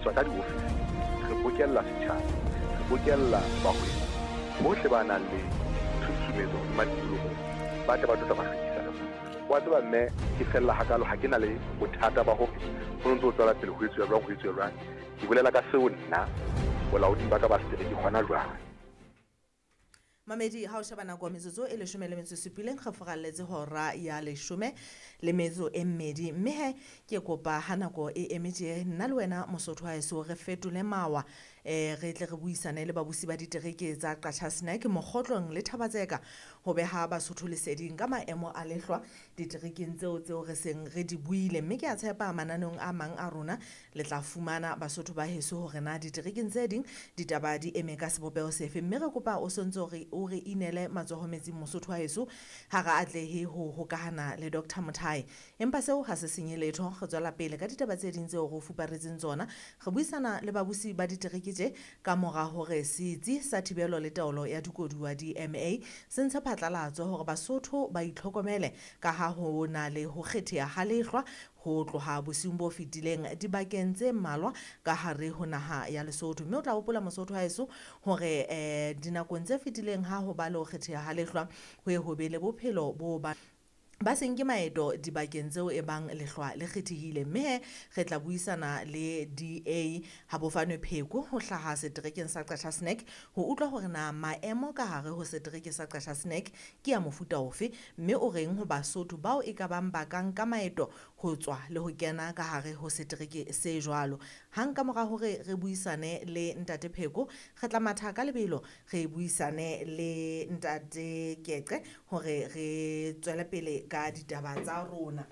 Tswa ka diofising re bokella setjhaba, re bokella bahwebi bohle ba nang le tshusumetso hodima tikoloho, ba tle ba tlo tla ba hlwekisa le rona. Wa tseba mme ke fella hakalo ha ke na le bothata ba hore ho ntse ho tswela pele ho etsuwa jwang, ho etsuwa jwang. Ke bolela ka seo nna bolaoding ba ka ba setereke hona jwale. Mamedi, ha o sheba nako metsotso e 17 re furalletse hora ya 12. Mme he ke kopa ha nako e eme tje, nna le wena Mosotho wa heso re fetole mawa, re tle re buisane le babusi ba ditereke tsa Qacha's Nek, Mokgotlong le Thabatseka ho beha Basotho leseding ka maemo a lehlwa diterekeng tseo tseo re seng re di buile. Mme ke a tshepa mananeong a mang a rona le tla fumana Basotho ba heso hore na diterekeng tse ding ditaba di eme ka sebopeho sefe. Mme re kopa o sontso re o re inele matsoho metsing Mosotho wa heso, ha re atlehe ho hokahana le Dr. Mothae. Empa seo ha se senye letho, re tswela pele ka ditaba tse ding tseo re o fuparetseng tsona. Re buisana le babusi ba ditereke tje ka mora hore setsi sa thibelo le taolo ya dikoduwa DMA se ntshe phatlalatso hore Basotho ba itlhokomele ka ha ho na le ho kgetheha ha lehlwa ho tloha bosiung bo fetileng dibakeng tse mmalwa ka hare ho naha ya Lesotho. Mme o tla hopola Mosotho wa heso hore dinakong tse fetileng ha ho ba le ho kgetheha ha lehlwa ho ye ho be le bophelo bo ba ba seng ke maeto dibakeng tseo e bang lehlwa le kgethehile. Mme he re tla buisana le DA Habofane Pheko ho hlaha seterekeng sa Qacha's Nek ho utlwa hore na maemo ka hare ho setereke sa Qacha's Nek ke ya mofuta ofe, mme o reng ho Basotho bao e ka bang ba ka nka maeto ho tswa le ho kena ka hare ho setereke se jwalo. Hang ka mora hore re buisane le Ntate Pheko, re tla matha ka lebelo re buisane le Ntate Keqe hore re tswele pele ka ditaba tsa rona.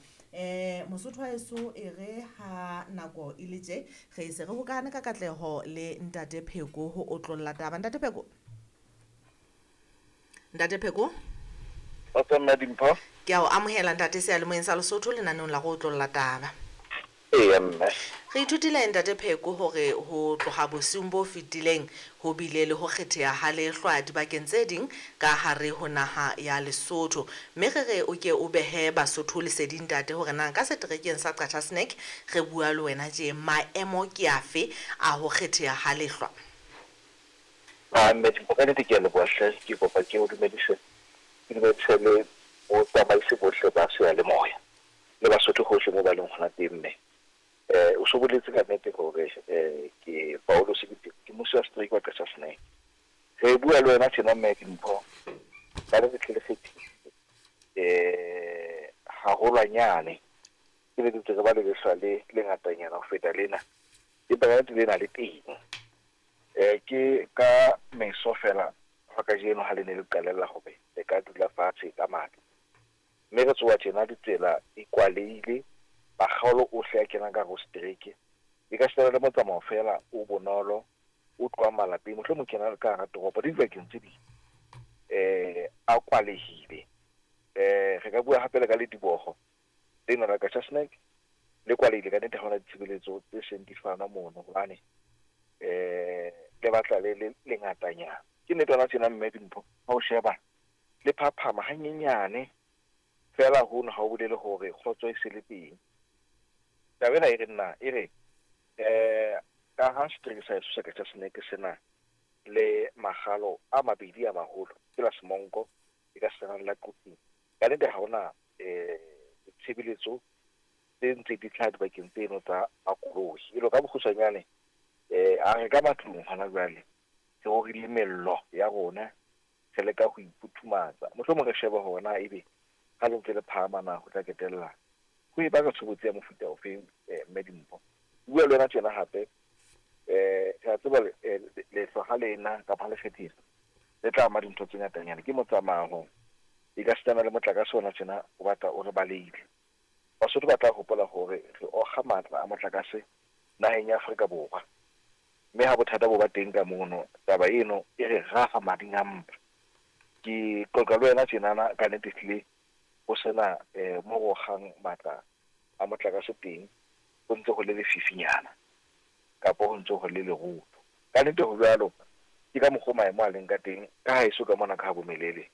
Mosotho wa heso e re ha nako e le tje, re se re hokahane ka katleho le Ntate Pheko ho otlolla taba. Ntate Pheko? Ntate Pheko? Kgotso mme Dimpho. Ke a o amohela ntate seyalemoyeng sa Lesotho lenaneong la go otlolla taba. Eya mme. Re ithutile Ntate Pheko hore ho tloha bosiung bo fetileng ho bile le ho kgetheha ha lehlwa dibakeng tse ding ka hare ho naha ya Lesotho. Mme re re o ke o behe Basotho leseding ntate hore na ka seterekeng sa Qacha's Nek re bua le wena tje maemo ke afe a ho kgetheha ha lehlwa. Ah mme Dimpho ka nnete ke a leboha hle, ke kopa ke o dumedise, ke dumedise le botsamaisi bohle ba seyalemoya le Basotho hohle moo ba leng hona teng mme. O so boletse ka nnete hore ke Paulus ke ke mmusi wa setereke wa Qacha's Nek. Re bua le wena tjena mme Dimpho ka le tle le kgethile haholwanyane ke le ntse re ba le lehlwa le lengatanyana ho feta lena, empa ka nnete lena le teng. Ke ka meso fela hwa kajeno ha le ne le qalella hore le ka dula fatshe ka matla. Mme re tsoha tjena ditsela di kwalehile, makgaolo ohle a kenang ka hare ho setereke. E ka sitana le motsamao fela o bonolo o tlohang malapeng, mohlomong kena ka hara toropo le dibakeng tse ding a kwalehile. Re ka bua hape le ka lediboho lena la Qacha's Nek le kwalehile ka nnete, ha hona ditshebeletso tse seng di fanwa mono hobane le batla le le lengatanyana. Ke nnete hona tjena mme Dimpho ha o sheba le phaphama hanyenyane fela hono ha o bolele hore kgotso e se le teng. Taba ena e re nna e re ka ha setereke sa heso sa Qacha's Nek sena le makgalo a mabedi a maholo, ke la Semonko e ka sitana le la Quthing, ka nnete ha hona ditshebeletso tse ntse di hlaha dibakeng tseno tsa makoloi. E lo ka bokgutshwanyane a re ka matlung hona jwale re rorile mello ya rona, re leka ho iputhumatsa, mohlomong re shebe hore na ebe ha le ntse le phahama na ho tla ketella ho e baka tshobotsi ya mofuta ofeng. Mme Dimpho, bua le wena tjena hape re a tseba lehlwa ha lena kapa ha le kgethile le tla ama dintho tse ngatanyana, ke motsamao e ka sitana le motlakase ona tjena o batla o re balehile. Basotho ba tla hopola hore re okga matla a motlakase naheng ya Afrika Borwa, mme ha bothata bo ba teng ka mono taba eno e re raha mading a mpa. Ke qoqa le wena tjenana ka nnete ehlile ho sena mo re okgang matla a motlakase teng, ho ntse ho le lefifinyana kapa ho ntse ho le lerotho. Ka nnete ho jwalo, ke ka mokgwa maemo a leng ka teng ka haeso ka mona ka ha bomelele.